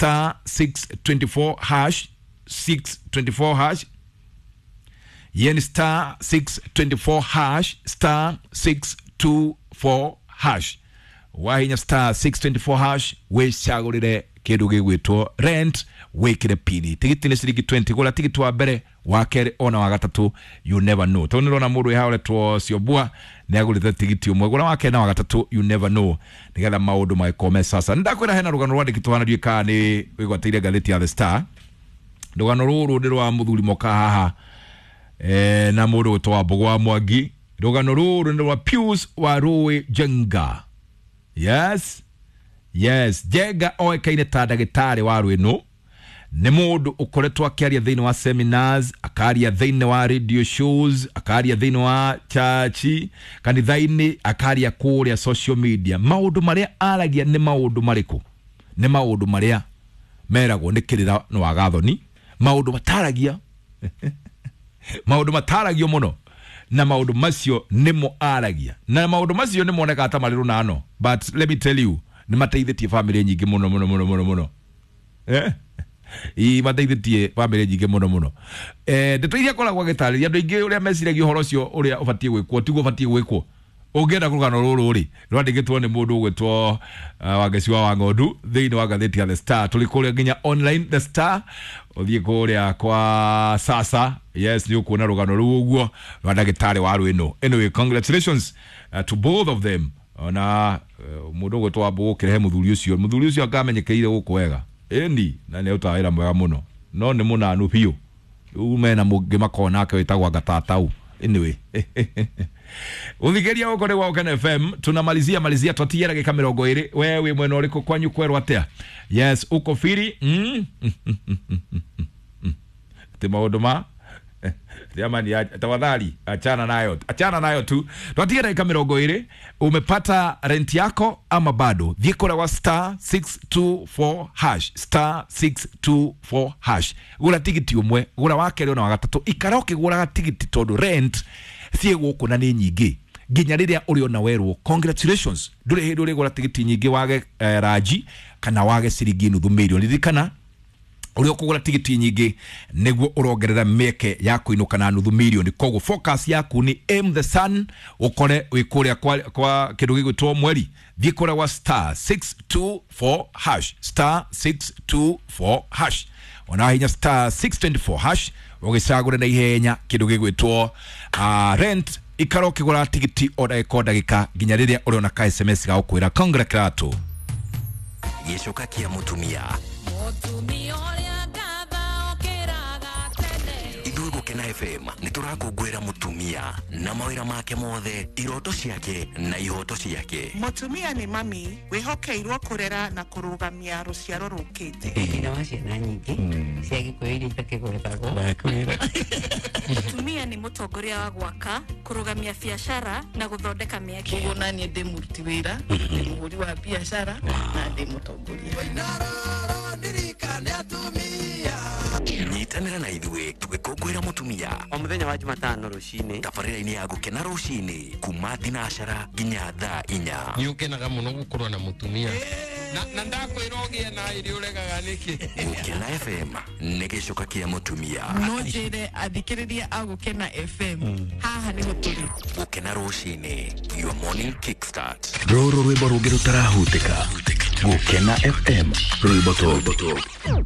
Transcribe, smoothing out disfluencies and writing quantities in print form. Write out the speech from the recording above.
star 624 hash 624 hash yen star 624 hash star 624 hash wahinya star 624 hash wicagurire kindu gigwitwo rent wikire pini tigiti ni ciringi 20 gura tigiti wa mbere wa keri ona wa gatatu you never know tondu nirona mundu wi haoretwo Ciombua ni agurite tigiti umwe gura wa keri na wa gatatu you never know nigetha maundu magikome sasa ndakwira hena rugano rwandikitwo hana ndiũĩ kana ni wigwatĩire ngathĩti ya The Star rugano rũrũ nĩ rwa mũthuri moka haha na mũndũ gwĩtwo Wambũgũ wa Mwangi rugano rũrũ nĩ rwa Pius Warũĩ Njenga yes yes Njenga oĩkaine ta ndagĩtarĩ wa rwĩnũ nĩ mũndũ ũkoretwo akĩaria thĩinĩ wa seminars akaria thĩinĩ wa radio shows akaria thĩinĩ wa church kanitha-inĩ akaria kũrĩa social media maũndũ marĩa aragia nĩ maũndũ marĩkũ nĩ maũndũ marĩa meragwo nĩ kĩrĩra nĩ wagathoni maũndũ mataragia maũndũ mataragio mũno na maũndũ macio nĩmo aragia na maũndũ macio nĩ monekaga ta marĩ rũnano but let me tell you nĩ mateithĩtie famĩlĩ nyingĩ mũno mũno mũno mũno mũno ii mateithĩtie famĩlĩ nyingĩ mũno mũno ndeto iria akoragwo agĩtarĩria andũ aingĩ ũrĩa meciragia ũhoro ũcio ũrĩa ũbatiĩ gwĩkwo tiguo ũbatiĩ gwĩkwo ũngĩenda rũgano rũrũ rĩ rwandĩkĩtwo nĩ mũndũ ũgwĩtwo Wangeci wa Wang'ondu thĩinĩ wa ngathĩti ya The Star tũrĩ kũrĩa nginya online The Star ũthiĩ kũrĩa kwa sasa yes nĩ ũkuona rũgano rũu ũguo rwa ndagĩtarĩ wa rwĩnũ anyway congratulations to both of them ona mũndũ ũgwĩtwo Wambũgũ ũkĩrehe mũthuri ũcio akamenyekeire gũkũ wega ĩni na nĩ arutaga wĩra mwega mũno no nĩ mũnanu biũ rĩu mena mũngĩ makoragwo nake wĩtagwo Ngatatau anyway uthikiria huko ni wa Gukena FM tunamalizia malizia twatia ndagika 20 we wi mwena uriku kwanyu kwerwo atia yes uko firi ti maundu ma jamani tafadhali achana nayo tu twatia ndagika 20 umepata rent yako ama bado thiĩ kũrĩa wa star 624 hash star 624 hash gũra tigiti ũmwe gũra wa kerĩ ona wa gatatũ ikara ũkĩgũraga tigiti tondũ rent thiĩ gũkũ na nĩ nyingĩ nginya rĩrĩa ũrĩona werwo congratulations ndũrĩ hĩndĩ ũrĩgũra tigiti nyingĩ wage ranji kana wage ciringi nuthu mirioni ririkana ũrĩa ũkũgũra tigiti nyingĩ nĩguo ũrongerera mĩeke ya kũinũka na nuthu mirioni koguo focus yaku nĩ aim the sun ũkore wĩ kũrĩa kwa kĩndũ gĩgwĩtwo mweri thiĩ kũrĩa wa star 624 hash star 624 hash ona hinya star 624 hash ũgĩcagũre na ihenya kĩndũ gĩgwĩtwo rent ikara ũkĩgũra tigiti o ndagĩka o ndagĩka nginya rĩrĩa ũrĩona ka SMS ga gũkwĩra congratulations gĩcoka kĩa mũtumia ithuĩ Gukena FM nĩ tũrakũngũĩra mũtumia na mawĩra make mothe iroto ciake na ihoto ciake mũtumia nĩ mami wĩhokeirwo kũrera na kũrũgamia rũciaro rũkĩte nyina wa ciana nyingĩ cia Gĩkũyũ iria itakĩgwetagwo mũtumia nĩ mũtongoria wa gwaka kũrũgamia biacara na gũthondeka mĩeke ũguo naniĩ ndĩ mũruti wĩra ndĩ mũhũri wa biacara na ndĩ mũtongoria nyitanĩra na ithuĩ tũgĩkũngũĩra mũtumia o mũthenya wa Jumatano rũcinĩ tabarĩra-inĩ ya Gukena rũcinĩ kuma thinacara nginya thaa 4 nĩ ũkenaga mũno gũkorwo na mũtumia na ndakwĩra ũgĩe na irio ũregaga nĩkĩ Gukena FM nĩ gĩcoka kĩa mũtumia no njĩre athikĩrĩria a Gukena FM haha nĩho tũrĩ Gukena rũcinĩ your morning kickstart rũrũ rwĩmbo rũngĩ rũtarahutĩka Gukena FM rwĩmbo top.